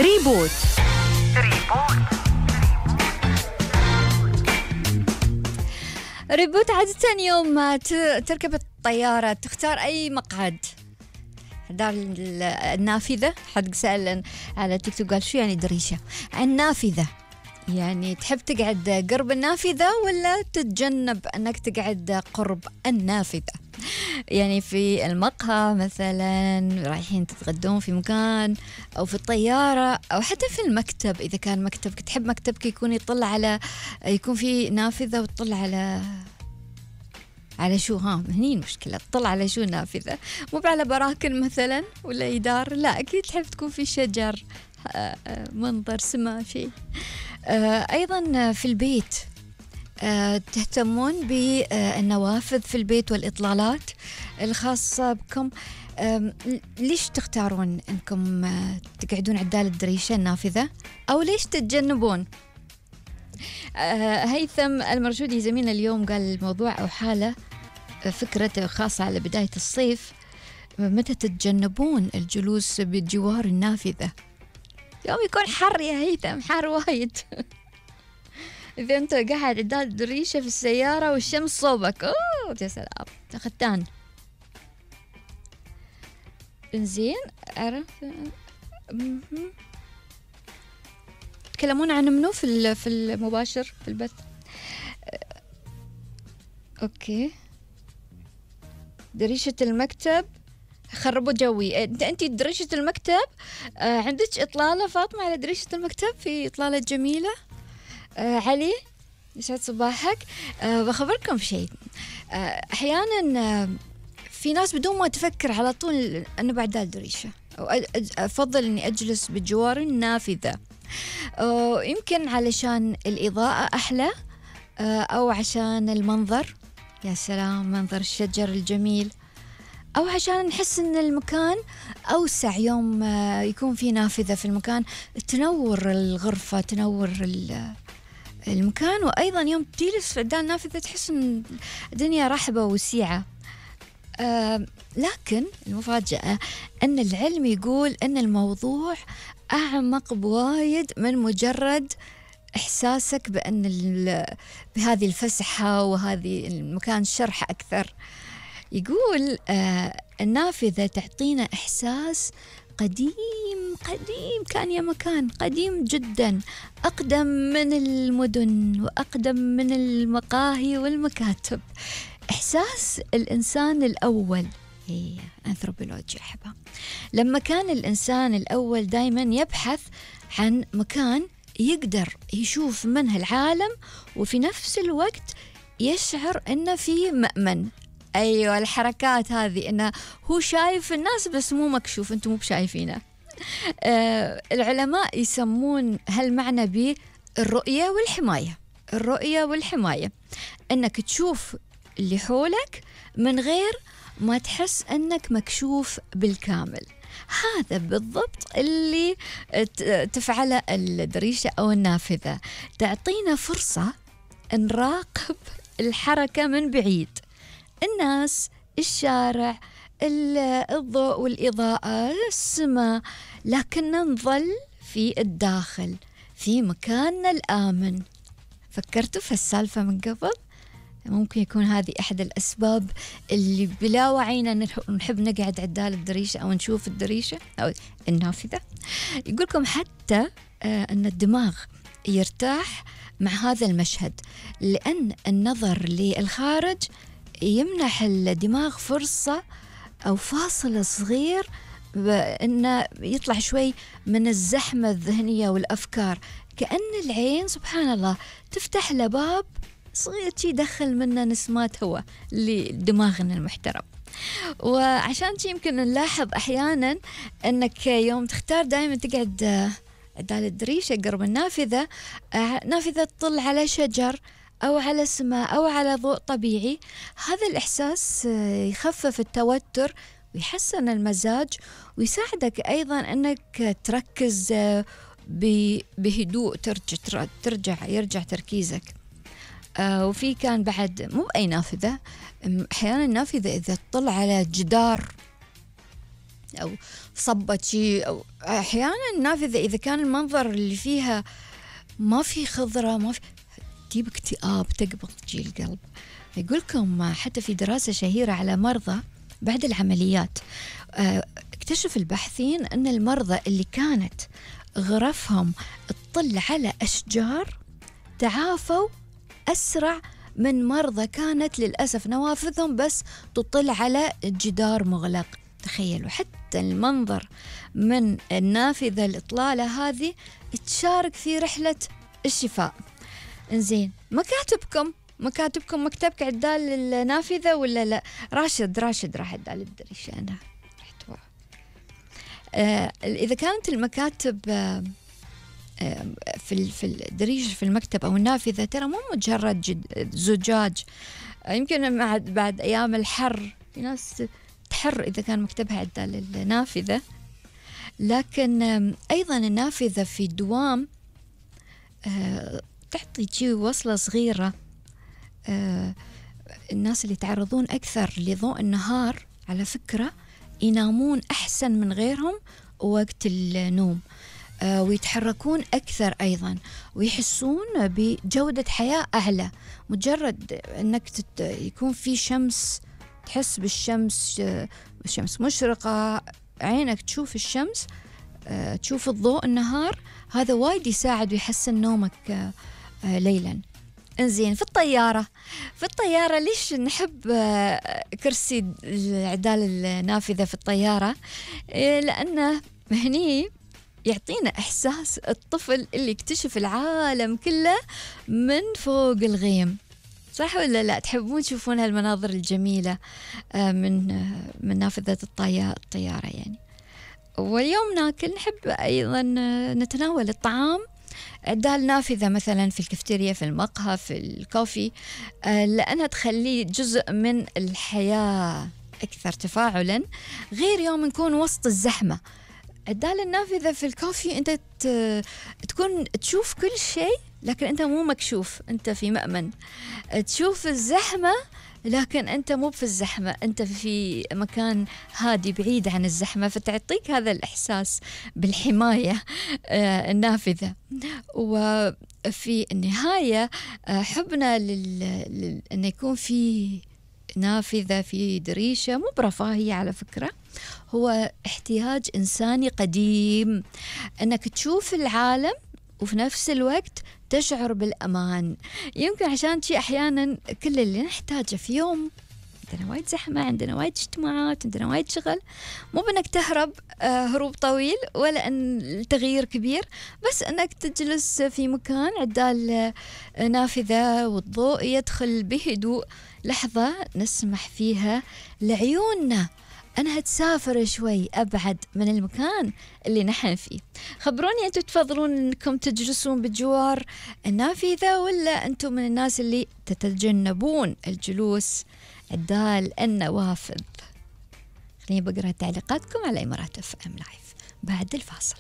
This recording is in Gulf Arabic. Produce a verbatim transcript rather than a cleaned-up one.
ريبوت. ريبوت ريبوت عادة يوم ما تركب الطيارة تختار أي مقعد؟ دار النافذة. حد سأل على تيك توك قال شو يعني دريشة؟ النافذة يعني تحب تقعد قرب النافذة ولا تتجنب أنك تقعد قرب النافذة؟ يعني في المقهى مثلا رايحين تتغدون في مكان أو في الطيارة أو حتى في المكتب، إذا كان مكتبك تحب مكتبك يكون يطلع على يكون في نافذة وتطلع على على شو؟ ها هني المشكلة، تطلع على شو نافذة؟ مو على براكن مثلا ولا يدار، لا أكيد تحب تكون في شجر، منظر سما شيء. أيضا في البيت تهتمون بالنوافذ في البيت والإطلالات الخاصة بكم. ليش تختارون أنكم تقعدون عدال الدريشة النافذة أو ليش تتجنبون؟ هيثم المرشودي زميلنا اليوم قال الموضوع أو حالة فكرة خاصة على بداية الصيف، متى تتجنبون الجلوس بجوار النافذة؟ يوم يكون حر يا هيثم، حر وايد. إذا أنت قاعد عدال الدريشة في السيارة والشمس صوبك، أوه يا سلام ختان. إنزين عرف تكلمون عن منو في في المباشر في البث؟ أوكي. دريشة المكتب خربوا جوي. انت انت دريشة المكتب آه عندك اطلالة فاطمة على دريشة المكتب؟ في اطلالة جميلة. آه علي يسعد صباحك. آه بخبركم في شيء. آه احيانا آه في ناس بدون ما تفكر على طول انا بعد الدريشة او افضل اني اجلس بجوار النافذة. آه يمكن علشان الاضاءة احلى، آه او عشان المنظر، يا سلام منظر الشجر الجميل، أو عشان نحس إن المكان أوسع يوم يكون في نافذة في المكان تنور الغرفة تنور المكان، وأيضا يوم تجلس عدال النافذة تحس إن الدنيا رحبة وسيعة. آه لكن المفاجأة أن العلم يقول أن الموضوع أعمق بوايد من مجرد إحساسك بأن بهذه الفسحة وهذه المكان شرح أكثر. يقول آه النافذة تعطينا إحساس قديم قديم، كان يا مكان قديم جدا، أقدم من المدن وأقدم من المقاهي والمكاتب. إحساس الإنسان الأول، هي أنثروبولوجيا أحبها، لما كان الإنسان الأول دايما يبحث عن مكان يقدر يشوف منه العالم وفي نفس الوقت يشعر أنه في مأمن. أيوة الحركات هذه، إنه هو شايف الناس بس مو مكشوف، أنتم مو بشايفينه. آه العلماء يسمون هالمعنى بالرؤية والحماية. الرؤية والحماية إنك تشوف اللي حولك من غير ما تحس أنك مكشوف بالكامل. هذا بالضبط اللي تفعله الدريشة أو النافذة، تعطينا فرصة نراقب الحركة من بعيد، الناس، الشارع، الضوء والإضاءة، السماء، لكن نظل في الداخل في مكاننا الآمن. فكرتوا في السالفة من قبل؟ ممكن يكون هذه أحد الأسباب اللي بلا وعينا نحب نقعد عدال الدريشة أو نشوف الدريشة أو النافذة. يقولكم حتى أن الدماغ يرتاح مع هذا المشهد، لأن النظر للخارج يمنح الدماغ فرصة أو فاصل صغير بأنه يطلع شوي من الزحمة الذهنية والأفكار، كأن العين سبحان الله تفتح له باب صغير يدخل منه نسمات هواء لدماغنا المحترم. وعشان شي يمكن نلاحظ أحيانا أنك يوم تختار دائما تقعد عدال الدريشة قرب النافذة، نافذة تطل على شجر أو على سماء أو على ضوء طبيعي، هذا الإحساس يخفف التوتر ويحسن المزاج ويساعدك أيضا أنك تركز بهدوء، ترجع ترجع يرجع تركيزك. آه وفي كان بعد مو أي نافذة، أحيانا النافذة إذا تطلع على جدار أو صبت شيء. أو أحيانا النافذة إذا كان المنظر اللي فيها ما في خضرة ما في، تجيب اكتئاب، تقبض تجي القلب. يقولكم حتى في دراسة شهيرة على مرضى بعد العمليات، اكتشف الباحثين أن المرضى اللي كانت غرفهم تطل على أشجار تعافوا أسرع من مرضى كانت للأسف نوافذهم بس تطل على جدار مغلق. تخيلوا حتى المنظر من النافذة الإطلالة هذه تشارك في رحلة الشفاء. إنزين، مكاتبكم مكاتبكم مكتبك عدال النافذة ولا لا؟ راشد راشد راح عدال الدريشة. أنا آه إذا كانت المكاتب آه في في الدريشة في المكتب أو النافذة ترى مو مجرد زجاج. آه يمكن بعد بعد أيام الحر في ناس تحر إذا كان مكتبها عدال النافذة، لكن آه أيضا النافذة في الدوام آه تعطي شيء وصلة صغيرة. آه الناس اللي يتعرضون أكثر لضوء النهار على فكرة ينامون أحسن من غيرهم وقت النوم، آه ويتحركون أكثر أيضا، ويحسون بجودة حياة أعلى. مجرد أنك تت... يكون في شمس، تحس بالشمس، آه الشمس مشرقة، عينك تشوف الشمس، آه تشوف الضوء النهار، هذا وايد يساعد ويحسن نومك آه آه ليلا. انزين، في الطيارة في الطيارة ليش نحب كرسي عدال النافذة في الطيارة؟ لأنه هني يعطينا إحساس الطفل اللي يكتشف العالم كله من فوق الغيم. صح ولا لا؟ تحبون تشوفون هالمناظر الجميلة من من نافذة الطيارة يعني. واليوم ناكل نحب أيضا نتناول الطعام عدال نافذة مثلا في الكافتيريا، في المقهى، في الكوفي، لأنها تخليه جزء من الحياة أكثر تفاعلا، غير يوم نكون وسط الزحمة. عدال النافذة في الكوفي أنت تكون تشوف كل شيء لكن أنت مو مكشوف، أنت في مأمن. تشوف الزحمة لكن أنت مو في الزحمة، أنت في مكان هادي بعيد عن الزحمة، فتعطيك هذا الإحساس بالحماية النافذة. وفي النهاية حبنا لل... أن يكون في نافذة في دريشة مو برفاهية على فكرة، هو احتياج إنساني قديم، أنك تشوف العالم وفي نفس الوقت تشعر بالأمان. يمكن عشان شيء أحيانا كل اللي نحتاجه في يوم، عندنا وايد زحمة، عندنا وايد اجتماعات، عندنا وايد شغل، مو بأنك تهرب هروب طويل ولا أن التغيير كبير، بس أنك تجلس في مكان عدال نافذة والضوء يدخل بهدوء، لحظة نسمح فيها لعيوننا أنها تسافر شوي أبعد من المكان اللي نحن فيه. خبروني أنتم تفضلون أنكم تجلسون بجوار النافذة ولا أنتم من الناس اللي تتجنبون الجلوس عدال النوافذ؟ خليني بقرأ تعليقاتكم على إمارات اف ام لايف بعد الفاصل.